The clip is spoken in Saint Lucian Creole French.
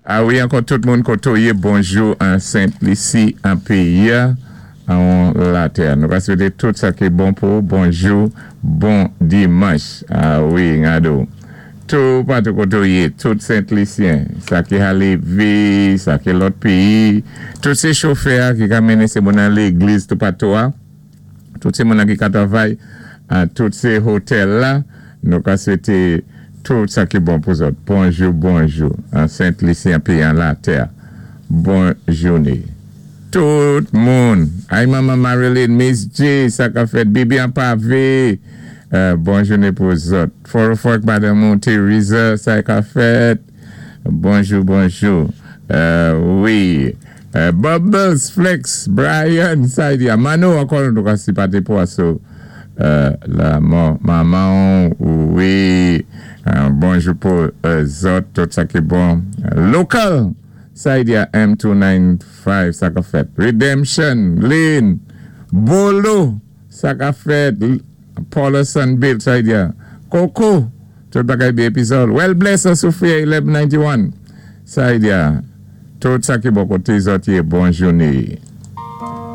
A wi, ankò tout moun koto yé, bonjou an Sent Lisi, an péyi an latè. Nou ka swété tout sa ki bon pou bonjou, bon dimanch. A wi, ngado. Tou patou koto yé, tout Sent Lisyen, sa ki Halevi, sa ki lòt péyi, tout sé chofè ki ka mennen sé moun an légliz tou patou a, tout sé moun ki ka travay, tout sé hotèl la, nou ka swété tout sa ki bon pou zòt. Bonjou, bonjou, an Sent Lisi, an péyi an latè. Bon jouné. Tout moun. Ay manman Marilyn, Miss J, sa ka fèt, Bibi an pavé. Bon jouné pou zòt. Forofok, Madame Teresa, sa ka fèt. Bonjou, bonjou. Wi. Bubbles, Flex, Brian, sa di. Mano, ankò nou ka sinpati pou aso lanmò manman, wi. Bonjou pou zòt, tout sa ki bon. Local, sa di M295, sa ka fèt. Redemption, Lynn, Bolo, sa ka fèt. Paula Sunbill, sa di. Coco, tout bagay byen epizòd. Well bless, Sophia 1191. Sa di. Tout sa ki bon koté zòt yé, bon jouné.